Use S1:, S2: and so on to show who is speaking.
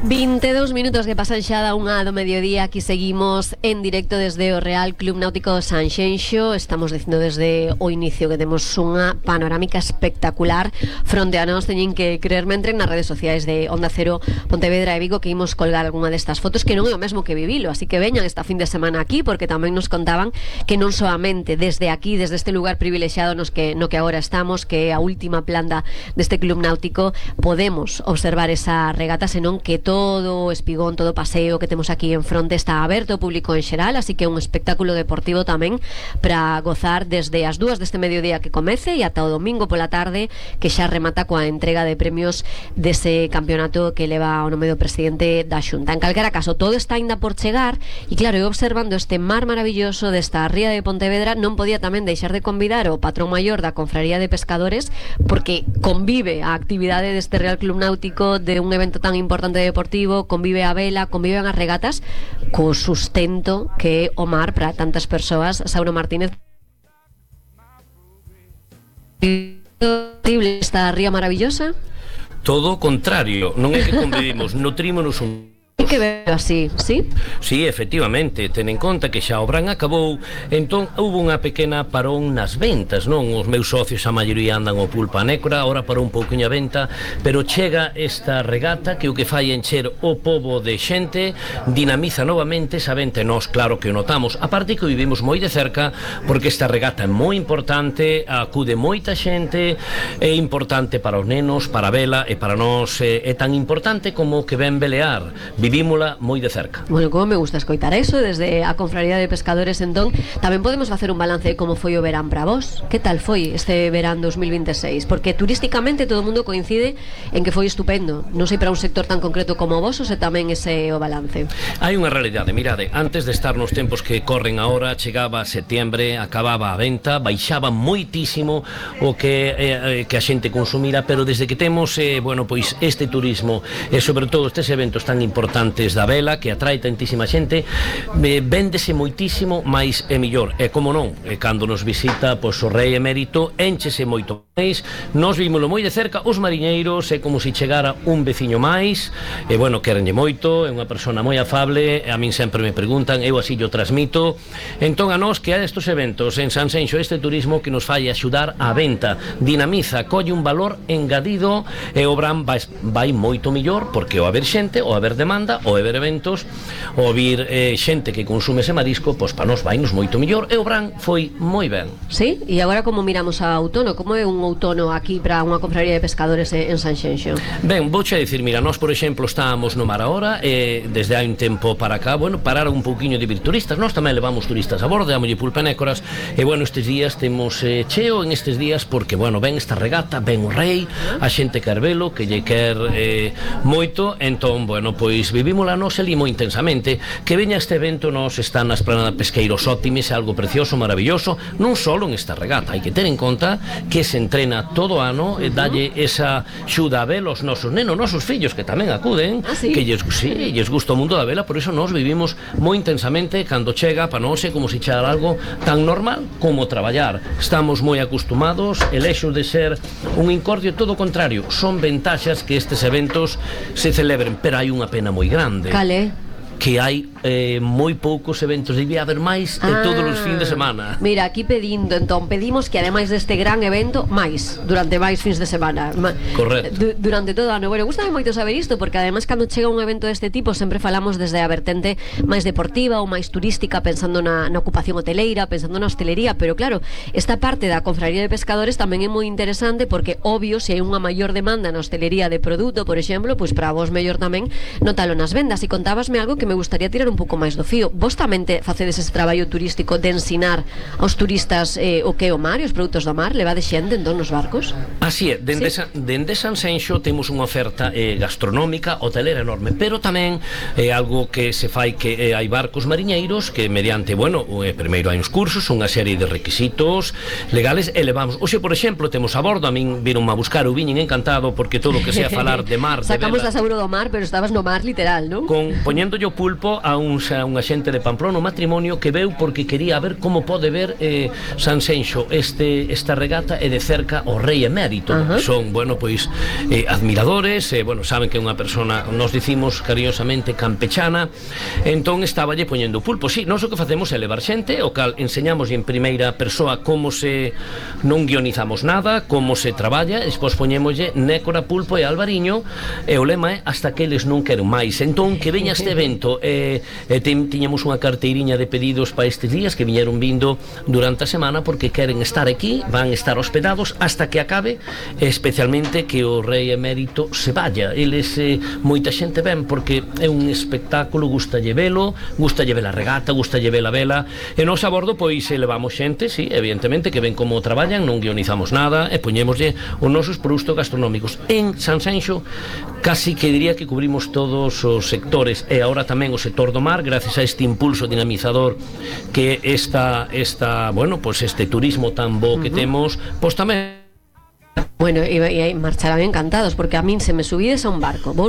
S1: 22 minutos que pasan xa da unha do mediodía. Aquí seguimos en directo desde o Real Club Náutico Sanxenxo. Estamos dicindo desde o inicio que temos unha panorámica espectacular fronte a nós. Teñen que creerme, entren nas redes sociais de Onda Cero Pontevedra e Vigo, que imos colgar algunha destas fotos, que non é o mesmo que vivilo, así que veñan esta fin de semana aquí, porque tamén nos contaban que non soamente desde aquí, desde este lugar privilexiado no que agora estamos, que é a última planta deste Club Náutico, podemos observar esa regata, senón que todo o espigón, todo o paseo que temos aquí en fronte está aberto ao público en xeral, así que é un espectáculo deportivo tamén para gozar desde as 2 deste mediodía que comece e ata o domingo pola tarde, que xa remata coa entrega de premios dese campeonato que leva o nome do presidente da Xunta. En calquera caso, todo está ainda por chegar e claro, eu observando este mar maravilloso desta ría de Pontevedra, non podía tamén deixar de convidar o patrón maior da Confraría de Pescadores, porque convive a actividade deste Real Club Náutico, de un evento tan importante deportivo, convive a vela, conviven as regatas co sustento que é o mar para tantas persoas. Sauro Martínez, esta ría maravillosa.
S2: Todo o contrario, non é que convivimos, nutrímonos un...
S1: Que veo así, sí?
S2: Sí, efectivamente, ten en conta que xa o verán acabou, entón houve unha pequena parón nas ventas, non? Os meus socios a maioría andan o pulpa nécora, ahora parou un pouquinho a venta, pero chega esta regata que o que fai encher o pobo de xente, dinamiza novamente esa venta, e nós claro que o notamos, a parte que o vivimos moi de cerca, porque esta regata é moi importante, acude moita xente, é importante para os nenos, para a vela, e para nós é tan importante como que ven velear. Vivímola moi de cerca.
S1: Bueno, como me gusta escoitar eso desde a Confraría de Pescadores. Entón, tamén podemos facer un balance de como foi o verán para vos. Que tal foi este verán 2026? Porque turísticamente todo o mundo coincide en que foi estupendo. Non sei para un sector tan concreto como vos, ou se tamén ese o balance.
S2: Hai unha realidade, mirade, antes de estar nos tempos que corren agora, chegaba setiembre, acababa a venta, baixaba moitísimo o que a xente consumira, pero desde que temos, bueno, pois este turismo e sobre todo estes eventos tan importantes da vela, que atrae tantísima xente, véndese moitísimo máis e millor, e como non, cando nos visita pois o rei emérito, énchese moito máis. Nos vímolo moi de cerca, os mariñeiros, é como se chegara un veciño máis, e bueno, querenlle moito, é unha persona moi afable, e a min sempre me preguntan, eu así yo transmito. Entón a nós que hai estes eventos en Sanxenxo, este turismo que nos fai axudar á venta, dinamiza, colle un valor engadido, e o Bran vai moito millor, porque o haber xente, o haber demanda, o haber eventos, o vir xente que consume ese marisco, pois para nós vainos moito millor, e o Bran foi moi ben.
S1: Sí, e agora como miramos a outono, como é un outono aquí para unha confraría de pescadores en Sanxenxo?
S2: Ben, vouche a dicir, mira, nós por exemplo estábamos no mar agora, e desde hai un tempo para cá, bueno, pararon un pouquiño de vir turistas, nós tamén levamos turistas a bordo, dámolle pulpa nécoras, e bueno, estes días temos cheo en estes días, porque bueno, ven esta regata, ven o rei, a xente quer velo, que lle quer moito, entón, bueno, pois vivímola nos ali moi intensamente. Que veña este evento, nos están na esplanada Pesqueiros Óptimis, algo precioso, maravilloso, non só en esta regata, hai que ter en conta que se entrena todo o ano, e dalle esa xuda a vela aos nosos nenos, nosos fillos que tamén acuden, que lles gusta o mundo da vela, por iso nos vivimos moi intensamente. Cando chega, para nós é como se chegara algo tan normal como traballar. Estamos moi acostumados, e lexos de ser un incordio, todo o contrario, son ventaxas que estes eventos se celebren, pero hai unha pena moi grande.
S1: Cale?
S2: Que hai moi poucos eventos, debía haber máis todos os fins de semana.
S1: Mira, aquí pedimos que ademais deste gran evento, máis, durante máis fins de semana.
S2: Correcto.
S1: Durante todo o ano. Bueno, gustame moito saber isto, porque ademais cando chega un evento deste tipo sempre falamos desde a vertente máis deportiva ou máis turística, pensando na ocupación hoteleira, pensando na hostelería, pero claro, esta parte da Confraría de Pescadores tamén é moi interesante, porque obvio, se hai unha maior demanda na hostelería de produto, por exemplo, pois para vos mellor tamén notalo nas vendas. E contábasme algo que me gustaría tirar un pouco máis do fío. Vos tamén facedes ese traballo turístico de ensinar aos turistas o que é o mar e os produtos do mar? Levade xente entón nos barcos?
S2: Así é, dende Sanxenxo temos unha oferta gastronómica, hotelera enorme, pero tamén é algo que se fai, que hai barcos mariñeiros que mediante, bueno, primeiro hai uns cursos, unha serie de requisitos legales, e levamos, hoxe por exemplo temos a bordo, a min viron a buscar, o viñen encantado, porque todo o que sea falar de mar,
S1: sacamos
S2: de
S1: a Sauro do mar, pero estabas no mar literal, non?
S2: Poñéndolle o pulpo a unha xente de Pamplona, un matrimonio que veu porque quería ver como pode ver Sanxenxo esta regata e de cerca o rei emérito, que son, bueno, pois admiradores, bueno, saben que é unha persona, nos dicimos cariñosamente campechana, entón estaballe poñendo pulpo. Si, nós o que facemos é levar xente, o cal enseñamos en primeira persoa como se non guionizamos nada, como se traballa, e despois poñémoslle nécora, pulpo e albariño, e o lema é hasta que eles non queren máis. Entón, que veña este evento, tiñamos unha carteiriña de pedidos para estes días que viñeron vindo durante a semana porque queren estar aquí, van estar hospedados hasta que acabe, especialmente que o rei emérito se vaya. Eles, moita xente ven porque é un espectáculo, gustalle velo, gustalle ver a regata, gustalle ver a vela, e nos a bordo pois levamos xente, sí, evidentemente, que ven como traballan, non guionizamos nada e poñémoslle os nosos produtos gastronómicos. En Sanxenxo casi que diría que cubrimos todos os sectores, e agora tamén o sector do mar, gracias a este impulso dinamizador que bueno, pues este turismo tan bo que temos, pues tamén.
S1: Bueno, e marcharán encantados, porque a min se me subides a un barco, vou